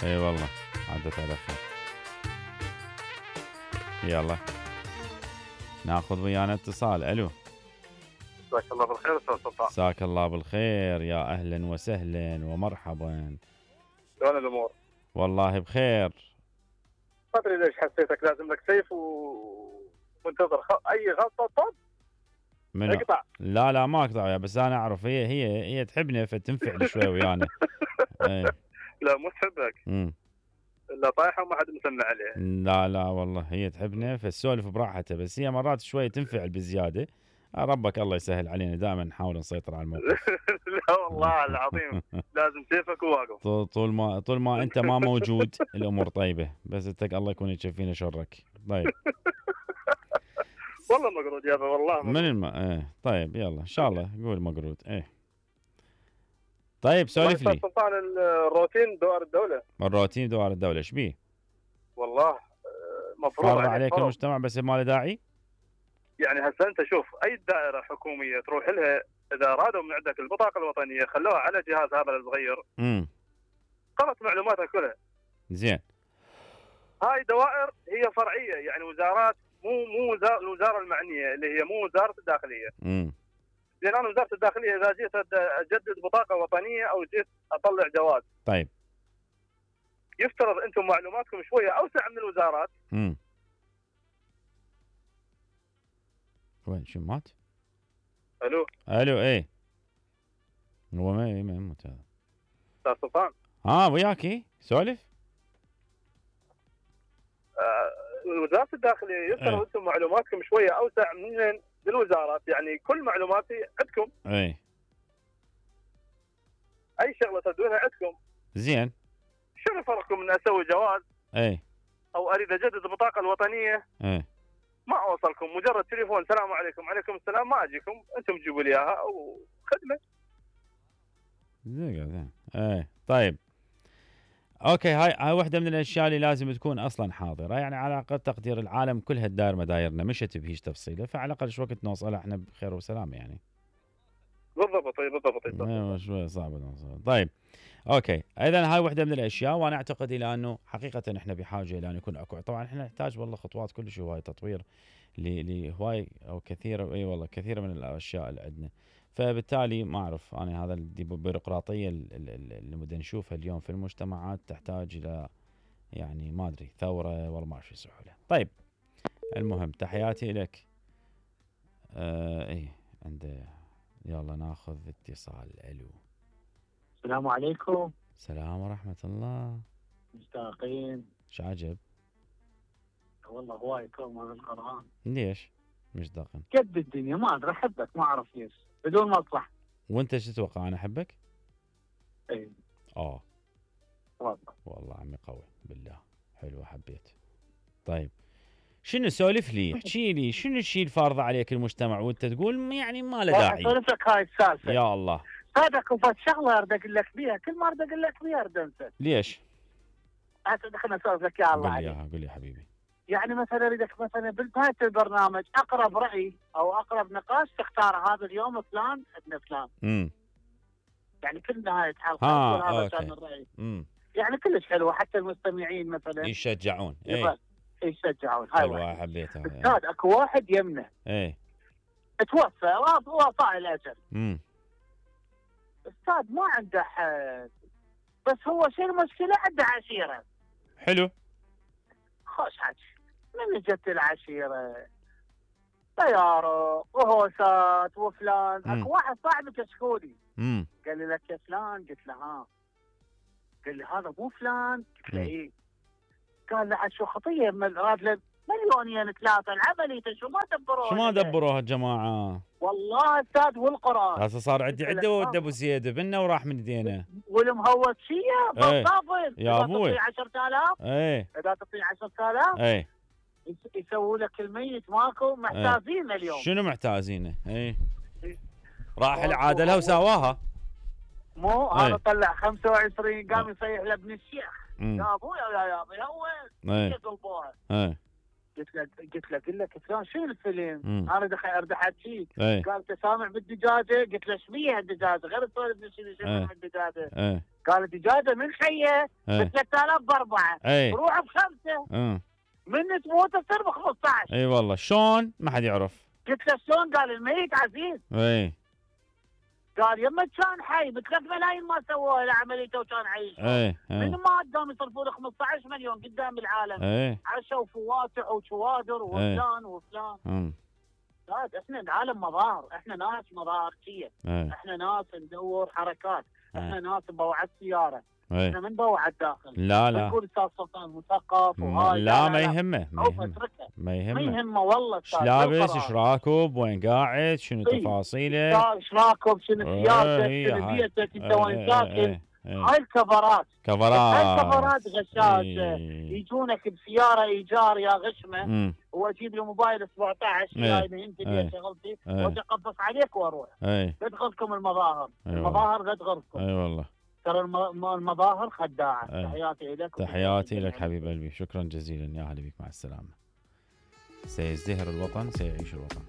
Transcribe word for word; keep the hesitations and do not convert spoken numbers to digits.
اي والله عدت على خير. يلا ناخذ ويانا اتصال. الو مساك الله بالخير استاذ سلطان. مساك الله بالخير، يا اهلا وسهلا ومرحبا. شلون الامور؟ والله بخير. ما ادري ليش حسيتك لازم لك سيف ومنتظر خ... اي غلطه طب من اقطع. لا لا ما اقطع، بس انا اعرف هي هي هي تحبني فتنفعل شوي ويانا. ايه. لا مو تحبك. امم لا طايحه وما حد مسمع عليها. لا لا والله هي تحبني فالسولف براحتها، بس هي مرات شوي تنفعل بزياده. ربك الله يسهل علينا، دائما نحاول نسيطر على الموقف. لا والله العظيم لازم سيفك وواقف. طول طول ما طول ما انت ما موجود الامور طيبه، بس انت الله يكون يكفينا شرك. طيب. والله مقرود يابا والله مقرود. من الم... ايه طيب يلا ان شاء الله قول مقرود. ايه طيب سولف لي. سلطان الروتين دوار الدوله. الروتين دوار الدوله ايش بيه؟ والله مفروض فرض عليك فرض. المجتمع بس ما له داعي. يعني هسه انت شوف اي دائره حكوميه تروح لها اذا ارادوا من عندك البطاقه الوطنيه خلوها على جهاز هذا الصغير. امم قرأت معلوماتها كلها. زين. هاي دوائر هي فرعيه يعني وزارات، مو مو وزاره الوزاره المعنيه اللي هي مو وزاره الداخليه. امم زين انا وزاره الداخليه اذا جيت اجدد بطاقه وطنيه او جيت اطلع جواز. طيب. يفترض انتم معلوماتكم شويه اوسع من الوزارات. امم وين شو مات؟ الو الو ايه هو ما ما يموت هذا. استاذ سلطان. اه وياكي سولف. آه وزاره الداخليه يفترض ايه. انتم معلوماتكم شويه اوسع من الوزارات، يعني كل معلوماتي عندكم. ايه. اي شغله تدونها عندكم. زين. شنو فرقكم من اسوي جواز؟ ايه. او اريد اجدد البطاقه الوطنيه. ايه. ما اوصلكم، مجرد تليفون السلام عليكم وعليكم السلام، ما اجيكم انتم تجيبوا لي اياها او خدمه. زين زين. ايه طيب. اوكي هاي هاي واحده من الاشياء اللي لازم تكون اصلا حاضره، يعني على اقل تقدير العالم كلها تداير مدايرنا مشت بهيج تفصيله، فعلى الاقل شو وقت نوصلها احنا بخير وسلامه يعني. بالضبط بالضبط. ايوه شوي صعب نوصل. طيب اوكي اذا هاي واحده من الاشياء، وانا اعتقد الى انه حقيقه احنا بحاجه الى ان يكون اكو، طبعا احنا نحتاج والله خطوات كلش هواي تطوير لهواي او كثير، اي والله كثير من الاشياء اللي عندنا. فبالتالي ما اعرف انا هذا البيروقراطيه اللي بدنا نشوفها اليوم في المجتمعات تحتاج الى يعني ما ادري ثوره والله ما اعرف شو يسووا لها. طيب المهم تحياتي لك. آه ايه عنده. يلا ناخذ اتصال. الو السلام عليكم. السلام ورحمه الله. مشتاقين. ايش عجب؟ والله هواي كوم من القرآن. ليش مشتاقين؟ قد الدنيا ما ادري احبك ما اعرف ليش بدون مصلحه. وانت ايش تتوقع انا احبك؟ اي اه والله والله عمي قوي بالله حلوه حبيت. طيب شنو سولف لي احكي لي شنو الشيء الفارض عليك المجتمع وانت تقول يعني ما له داعي؟ اسولف لك هاي السالفه. يا الله هذاك وفات شغله اريد اقول لك بيها، كل ما اريد اقول لك بيها اريد انسى. ليش؟ هسه دخلنا اسولف لك يا الله قول عليك. لي قول لي حبيبي. يعني مثلا اريدك مثلا بنهايه البرنامج اقرب راي او اقرب نقاش تختار هذا اليوم فلان عندنا فلان. امم يعني كل نهايه حلقه اه هذا اوكي. كان الراي. امم يعني كلش حلوه حتى المستمعين مثلا يشجعون. اي يشجعون. هاي حلوه واحد. حبيتها. استاذ اكو واحد يمنا اي توفى وفاء الاجل. امم استاذ ما عنده حد، بس هو شو المشكله عنده عشيره. حلو خوش حكي. من جت العشيره طياره وهوسات وفلان. اكو واحد صاحبي كشكولي امم قال لي لك يا فلان، قلت له ها، قال لي هذا مو فلان، قلت له ايه، قال له شو خطيه راد له مليونين ثلاثه العمليه شو ما دبروها. شو ما دبروها الجماعه والله استاذ والقران. هسه صار عندي عده ود ابو زيد بنا وراح من ايدينا. والمهوس شيه بالضبط يا ابوي عشرة آلاف. ايه اذا تعطي عشرة آلاف ايه يسووا لك الميت ماكو محتاجين ايه. اليوم شنو محتاجينه؟ ايه راح العادله وسواها. مو هذا طلع خمسة وعشرين قام يصيح لابن الشيخ يا ابويا يا ابويا وين يطلبوها. ايه قلت له قلت له قل لك فلان شنو الفيلم؟ انا دخل ارد احكيك. ايه. قال انت سامع بالدجاجه؟ قلت له ايش بيها الدجاجه غير تسولف شنو شنو الدجاجه. ايه قالت اجازه من خيه ب اي ثلاثة آلاف باربعه، اي روح بخمسه، اه من تموت تصير ب خمسة عشر. اي والله شلون ما حد يعرف. قلت له شلون؟ قال الميت عزيز. اي قال يما كان حي ب ثلاث ملايين ما سووها لعمليته وكان عايش. اي من اي ما قدام يصرفوا له خمسة عشر مليون قدام العالم، اي عشا وفواتح وشوادر وفلان وفلان. أمم. لا احنا العالم مظاهر، احنا ناس مظاهرجيه، اي احنا ناس ندور حركات، احنا اي ناس نبوعد سياره، اي احنا من بوعد داخل. لا لا يقول استاذ سلطان مثقف م- وهاي. لا ما يهمه ما عوف يهمه اتركه، ما ما يهمه. يهمه والله ايش أستاذ، لابس، بالقرار. ايش راكب، وين قاعد، شنو إي. تفاصيله، ايش راكب، شنو سيارتك، إي، شنو هاي. بيتك، انت إي، وين إي، ساكن. إي، إي. هاي الكفرات، هاي كفرات الكفرات غشاشه. إي. يجونك بسياره ايجار يا غشمه، أمم. واجيب له موبايل سبعة عشر إيه. هاي انت إيه. اللي شغلتي، إيه. واجي اقبص عليك واروح. اي لا تغركم المظاهر، أيوة. المظاهر لا تغركم. اي والله. ترى الم- المظاهر خداعه. إيه. تحياتي لك. تحياتي لك حبيب قلبي، شكرا جزيلا، يا هلا بك، مع السلامه. سيزدهر الوطن، سيعيش الوطن.